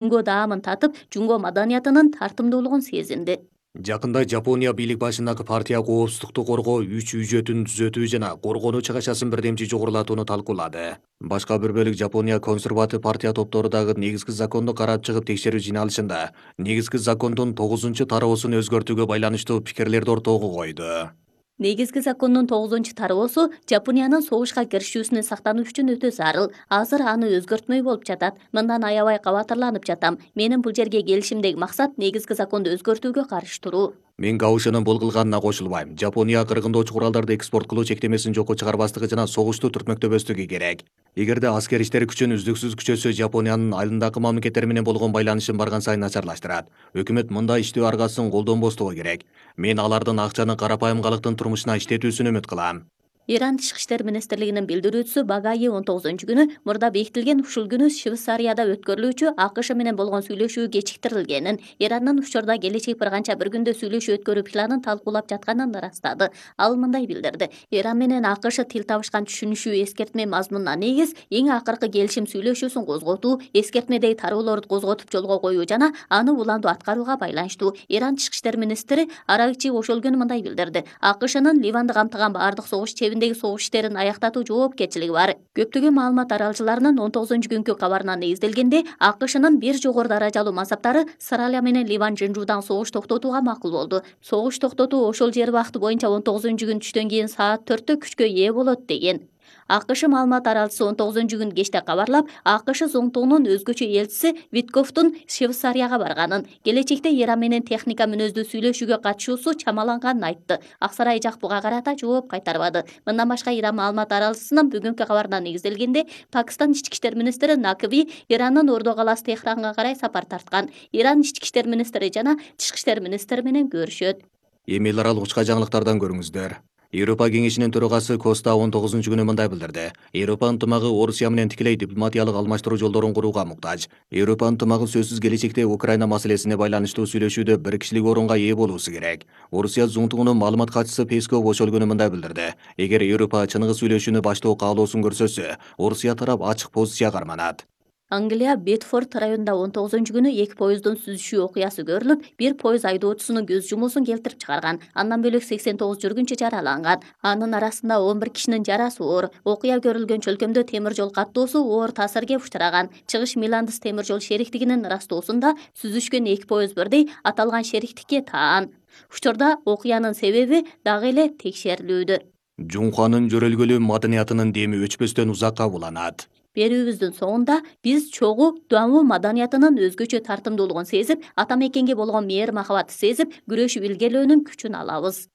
Жунго даамын татып, жунго маданиятынын тартымдуулугун сезинди. Жакында Жапония бийлик башындагы партия коопсуздукту коргоо 3 үжөтүн түзөтүү жана коргонуу чыгышасын бирдемчи жогорулатууну талкуулады. Башка бир бөлүк Жапония консерватив партия топтору дагы негизги законду карап чыгып текшерүү жыйналышында негизги закондун 9-тароосун өзгөртүүгө байланыштуу пикирлерди ортого койду. Негизги закондун 9-тароосу Жапониянын согушка киришүүсүнөн сактануу үчүн өтө зарыл. Азыр аны өзгөртмөй болуп жатат. Мындан аябай кабатырланып жатам. Менин бул жерге келишимдеги максат негизги законду өзгөртүүгө каршы туруу. Мен Гаушинин бул кылганына кошулбайм. Жапония кыргындоочу куралдарды экспорт кылуу чектемесин жокко чыгарбастыгы жана согушту түртмөктөбөстүгү керек. Эгерде аскер иштер күчүн үздүксүз күчөсө, Жапониянын айылындагы мамлекеттер менен болгон байланышын барган сайын начарлаштырат. Өкмөт мындай иштөө аргасын колдонбостугу керек. Мен алардын акчаны карапайым калктын турмушуна иштетүүсүн үмүт кылам. Иран Тышкы иштер министрлигинин билдирүүчүсү Багаи 19-күнү мурда бекитилген ушул күнү Швейцарияда өткөрүлүүчү АКШ менен болгон сүйлөшүү кечиктирилгенин, Ирандын учурда келечек бир канча бир күндө сүйлөшүү өткөрүү планын талкуулап жатканын ырастады. Ал мындай билдирди: Иран менен АКШ тил табышкан түшүнүшүү эскертме мазмунуна негиз эң акыркы келишим сүйлөшүүсүн козготуу, эскертмедеги тароолорду козготуп жолго коюу жана аны уланду аткарууга байланыштуу. Иран Тышкы иштер министри Аракчи ошол күнү мындай билдирди: АКШнын Ливанды камтыган бардык согуш чебиндеги согуш иштерин аяктатуу жоопкерчилиги бар. Көптөгөн маалымат аралчыларынын 19-күнкү кабарына негизделгенде, АКШнын бир жогору даражалуу мансаптары Сыралия менен Ливан Жынжуудан согуш токтотууга макул болду. Согуш токтотуу ошол жер убакыты боюнча 19-күн түштөн кийин саат 4-тө күчкө ээ болот деген. АКШ маалымат аралчысы 19-күн кечте кабарлап, АКШ зоңтугунун өзгөчө элчиси Виткофтун Швейцарияга барганын, келечекте Иран менен техника мүнөздүү сүйлөшүүгө катышуусу чамаланганын айтты. Ак сарай жак буга карата жооп кайтарбады. Мындан башка Иран маалымат аралчысынын бүгүнкү кабарына негизделгенде, Пакистан ички иштер министри Накви Ирандын Ордо калаасы Техранга карай сапар тарткан. Иран ички иштер министри жана Тышкы иштер министри менен көрүшөт. Эми эл аралык учка жаңылыктардан көрүңүздөр. Европа кеңешинин төрагасы Коста 19-күнү мындай билдирди. Европа ынтымагы Орусия менен тикелей дипломатиялык алмаштыруу жолдорун курууга муктаж. Европа ынтымагы сөзсүз келечекте Украина маселесине байланыштуу сүйлөшүүдө бир кишилик орунга ээ болуусу керек. Орусия зоңтугунун маалымат катчысы Песков ошол күнү мындай билдирди. Эгер Европа чыныгы сүйлөшүүнү баштоо каалоосун көрсөтсө, Орусия тарап ачык позиция карманат. Англия Бетфорд районунда 19-күнү 2 поезддун сүзүшүү окуясы көрүлүп, бир поезд айдоочусунун көз жумуусун келтирип чыгарган. Андан бөлөк 89 жүргүнчү жараланган. Анын арасында 11 кишинин жарасы оор. Окуя көрүлгөн чөлкөмдө темир жол каттоосу оор таасирге учураган. Чыгыш Миландыс темир жол шериктигинин ырастоосунда сүзүшкөн 2 поезд бирдей аталган шериктикке таан. Учурда окуянын себеби дагы эле текшерилүүдө. Жунханын жөрөлгөлүү маданиятынын деми өчпөстөн узакка уланат. Берүүбүздүн соңунда биз чогуу Дуаму маданиятынын өзгөчө тартымдуулугун сезип, ата мекенге болгон мээр махабатты сезип, күрөшүп илгерлөөнүн күчүн алабыз.